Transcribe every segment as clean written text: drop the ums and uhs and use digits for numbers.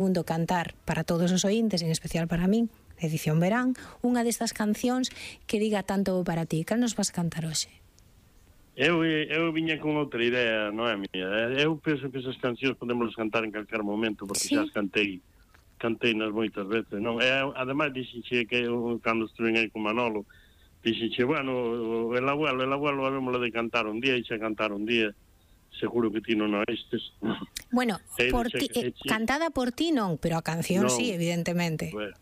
Segundo, cantar para todos os ointes, en especial para min, edición verán, unha destas cancións que diga tanto para ti. Cal nos vas a cantar hoxe? Eu viña con outra idea, non é mía. Eu penso que esas cancións podemos cantar en calquer momento, porque xa as cantei nas moitas veces, non? Ademais, dixenche que cando estuve aí con Manolo, dixenche, bueno, el abuelo habémoslo de cantar un día, e xa cantar un día, seguro que ti non oístes. Bueno, por ti, cantada por ti non, pero a canción sí, evidentemente. Bueno,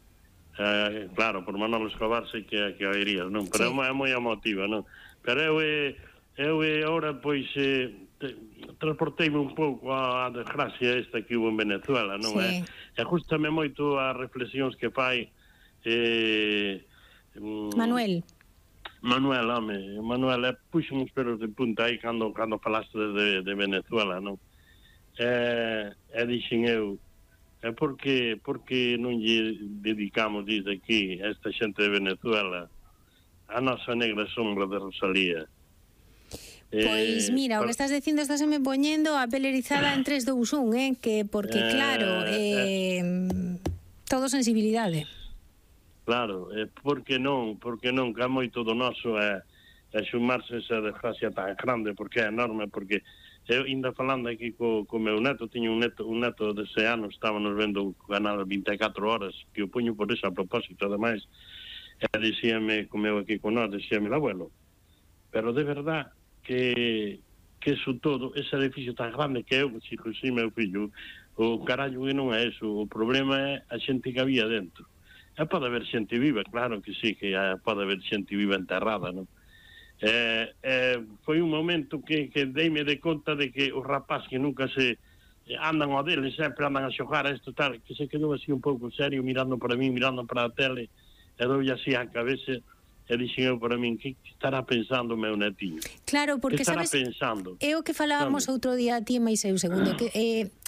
claro, por Manolo Escobar sei que oirías, non? Pero é moi emotiva, non? Pero eu agora, pois, transporteime un pouco a desgracia esta que hubo en Venezuela, non? E gústame moito as reflexións que fai Manuel, puxo uns pelos de punta aí cando falaste de Venezuela, non? E dixen eu, porque non lle dedicamos desde aquí a esta xente de Venezuela a nosa negra sombra de Rosalía? Pois mira, o que estás dicindo estaseme poñendo a pele erizada en 3, 2, 1, que porque claro, todo sensibilidade. Claro, porque non, que é moito do noso xumarse esa desgracia tan grande, porque é enorme, porque eu ainda falando aquí co meu neto, tiño un neto de 6 anos, estábamos vendo o canal 24 horas, que o poño por eso a propósito, ademais, e dixíame, comeu aquí con nós, dixíame, abuelo, pero de verdad que eso todo, ese edificio tan grande que eu, si meu fillo, o carallo que non é eso, o problema é a xente que había dentro. E pode haber xente viva, claro que sí, que pode haber xente viva enterrada, non? Foi un momento que deime de conta de que os rapaz que nunca se andan ao deles, sempre andan a xogar a isto tal, que se quedou así un pouco serio, mirando para mí, mirando para a tele, e doulle así a cabeza. E dixen eu para min, que estará pensando o meu netiño? Claro, porque sabes, é o que falábamos outro día a ti, mais eu segundo, que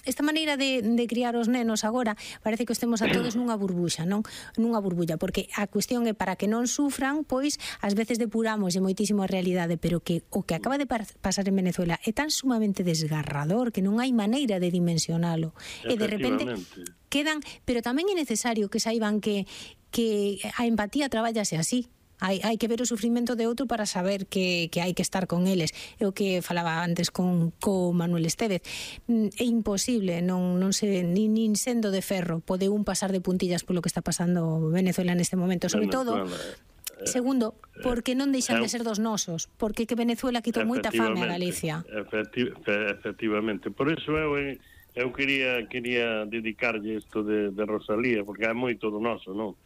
esta maneira de criar os nenos agora parece que estemos a todos nunha burbuxa, non? Nunha burbulla, porque a cuestión é para que non sufran, pois ás veces depuramos moitísimo a realidade, pero que o que acaba de pasar en Venezuela é tan sumamente desgarrador que non hai maneira de dimensionalo. E de repente quedan, pero tamén é necesario que saiban que a empatía traballase así. Hai que ver o sufrimento de outro para saber que hai que estar con eles. É o que falaba antes con Manuel Estévez. É imposible, non se nin sendo de ferro pode un pasar de puntillas polo que está pasando Venezuela neste momento, sobre todo. Segundo, porque non deixan de ser dos nosos, porque que Venezuela quitou moita fame a Galicia. Efectivamente. Por iso eu quería dedicarlle isto de Rosalía, porque é moito do noso, non?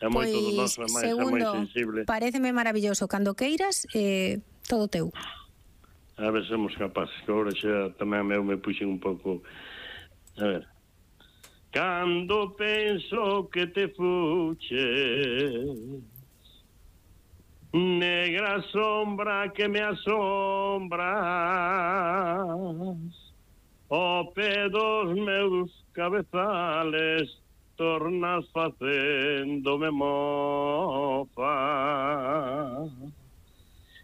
É moito do noso, é máis sensible. Paréceme maravilloso, cando queiras, todo teu. A ver, somos capaces, que agora xa tamén me puxen un pouco. A ver. Cando penso que te fuches, negra sombra que me asombras, o pé dos meus cabezales tornas facéndome mofa.